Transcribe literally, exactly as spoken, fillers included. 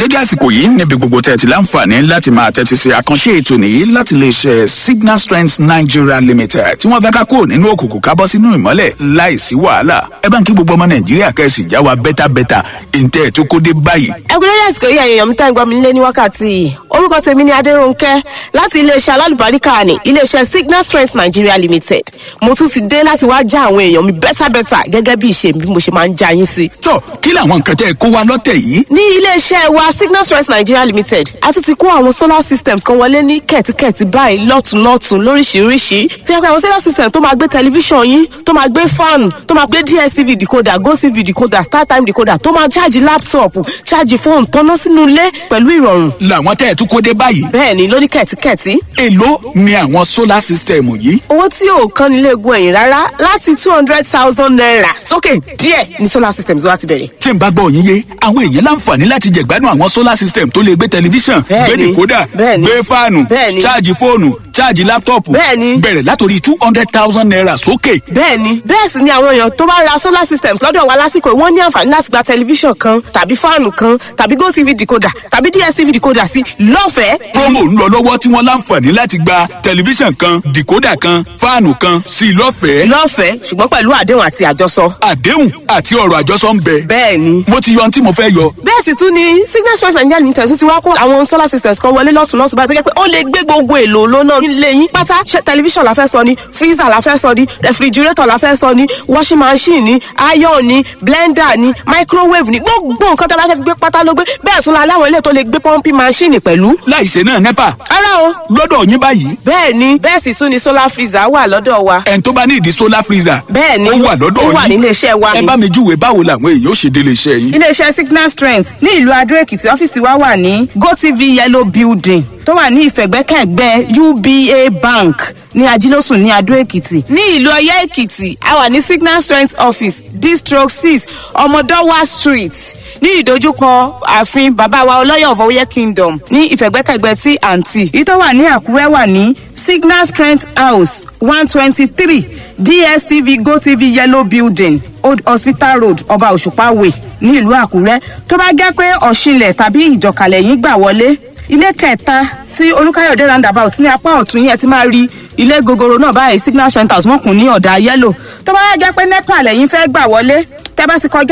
Dédé àsìkò yìí níbi gbogbo tẹ́ ẹ ti láǹfààní láti máa tẹ́tí sí àkànṣe ètò nìyí láti lè ṣe Signal Strength Nigeria Limited, tí wọ́n fẹ́ ká kúrò nínú òkùnkùn, ká bọ́ sínú ìmọ́lẹ̀ láìsí wàhálà. Ẹ bá ń kí gbogbo ọmọ Nàìjíríà, kẹ́sì já wa bẹ́tàbẹ́tà ìǹtẹ́ ẹ̀ tó kó dé báyìí. Ẹkúnlẹ́lẹ́ àsìkò yìí, ẹ̀yàn mi tá ń gbọ́ mi nílé ní wákàtí yìí. Orúkọ tèmi ni Adérónkẹ́ láti iléeṣẹ́ alálùbáríkà ní iléeṣẹ́ Signal Strength Nigeria Limited. Mo tún ti dé láti wá já àwọn èèyàn mi bẹ́tàbẹ́tà gẹ́gẹ́ bí ìṣe mi bí mo ṣe máa ń já yín sí. Tó kí làwọn nǹkan tẹ́ ẹ kó wa lọ́tẹ̀ yìí? Ní iléeṣẹ́ wa Signal Strength Nigeria Limited, a tún ti kó àwọn solar systems kan wọlé ní kẹ̀tíkẹ̀tí báyìí, lọ́tùnlọ́tùn, lóríṣiríṣi. Tí a pé àwọn solar system tó máa gbé tẹlifíṣàn yín, tó máa gbé fan, tó máa gbé D S T V decoder, GOTV decoder, StarTime decoder, tó máa ṣáàjì laptop, ṣáàjì fóònù, tọ́ná sínú ilé pẹ̀lú ìrọ̀rùn. Làwọn tẹ́ ẹ tún kó dé báyìí? Bẹ́ẹ̀ ni, lóní kẹ̀tíkẹ̀tí. Èló ni àwọn solar system yìí? Owó tí ò kan nílé egun ẹ̀yìn rárá, láti two hundred thousand naira sókè díẹ̀ ní solar systems wa ti bẹ̀rẹ̀. Tí n bá gbọ́ yín yé, àwọn èèyàn láǹfààní láti jẹ̀gbádùn àwọn solar system tó lè gbé tẹlifíṣàn, gbé Bẹ́ẹ̀ni. decoder, Bẹ́ẹ̀ni. gbé fáànù, Bẹ́ẹ̀ni. ṣáàjì fóònù, ṣáàjì laptop, Bẹ́ẹ̀ni. bẹ̀rẹ̀ látòrí two hundred thousand naira sókè. Bẹ́ẹ̀ni, bẹ́ẹ̀ sì ni àwọn èèyàn tó bá ra solar systems lọ́dọ̀ wa lásìkò yìí, wọ́n ní àǹfààní láti gba tẹlifíṣàn kan tàbí fáànù kan tàbí GOTV decoder tàbí D S T V decoder sí lọ́fẹ̀ẹ́. Promo ń lọ lọ́wọ́ tí wọ́n láǹfààní láti gba tẹlifíṣàn kan, decoder kan, fáànù kan sí lọ́fẹ̀ẹ́? Lọ́fẹ̀ẹ́, ṣùgbọ́n pẹ̀lú àdéhùn àti àjọsọ. Àdéhùn àti ọ̀rọ̀ àjọsọ ń bẹ? Bẹ́ẹ̀ni. Mo ti yọ ohun tí mo fẹ́ yọ. Bẹ́ẹ̀ sì tún ni Signal Strength Nigeria Limited tún ti wá kó àwọn solar systems kan wọlé lọ́tún lọ́tún báyìí, tó jẹ́ pé ó lè gbé gbogbo èlò lónà nílé yín pátá. Ṣé tẹlifíṣàn la fẹ́ sọ ni, freezer la fẹ́ sọ ni, refrigerator la fẹ́ sọ ni, washing machine ni, iron ni, blender ni, microwave ni, gbogbo nǹkan tó bá fẹ́ fi gbé pátá ló gbé. Bẹ́ẹ̀ tún la láwọn ilé tó lè gbé pumping machine pẹ̀lú. Láìṣe náà NEPA? Ara o. Lọ́dọ̀ yín báyìí? Bẹ́ẹ̀ ni, bẹ́ẹ̀ sì tún ni solar freezer wà lọ́dọ̀ wa. Ẹni tó bá ní ìdí solar freezer? Bẹ́ẹ̀ ni. Ó wà lọ́dọ̀ Ó wà yín? nílé iṣẹ́ wa Ẹ ni. bá mi júwe báwo làwọn èèyàn ó ṣe délé iṣẹ́ yín. Iléeṣẹ́ Signal Strength ní ìlú Adó Èkìtì, ọ́fíìsì wa wà ní GOTV Yellow Building tó wà ní ìfẹ̀gbẹ́kẹ̀gbẹ́ U B A Bank ní Ajílósùn ní Adó Èkìtì. Ní ìlú Ọ̀yẹ́ Èkìtì, a wà ní Signal Strength Office, District six, Ọmọdọ́wà Street, ní ìdojúkọ ààfin bàbá wa Ọlọ́yọ̀ of Ọ̀yẹ́ Kingdom, ní ìfẹ̀gbẹ́kẹ̀gbẹ́ tí àǹtí. Èyí tó wà ní Àkúrẹ́ wà ní Signal Strength House, one twenty three D S T V GOTV Yellow Building, Old Hospital Road, Ọba Òṣùpá Way, ní ìlú Àkúrẹ́. Tó bá jẹ́ pé Ọ̀ṣinlẹ̀ tàbí Ìjọkàlẹ̀ yín gbà wọlé, ilé kẹta sí Olúkáyọ̀dé roundabout ní apá ọ̀tún yẹn ti máa rí ilé gogoro náà báyìí, Signal Strength House, wọ́n kùn ní ọ̀dà yellow. Tó bá jẹ́ pé NEPA lẹ́yìn fẹ́ gbà wọlé, tẹ́ bá ti kọjá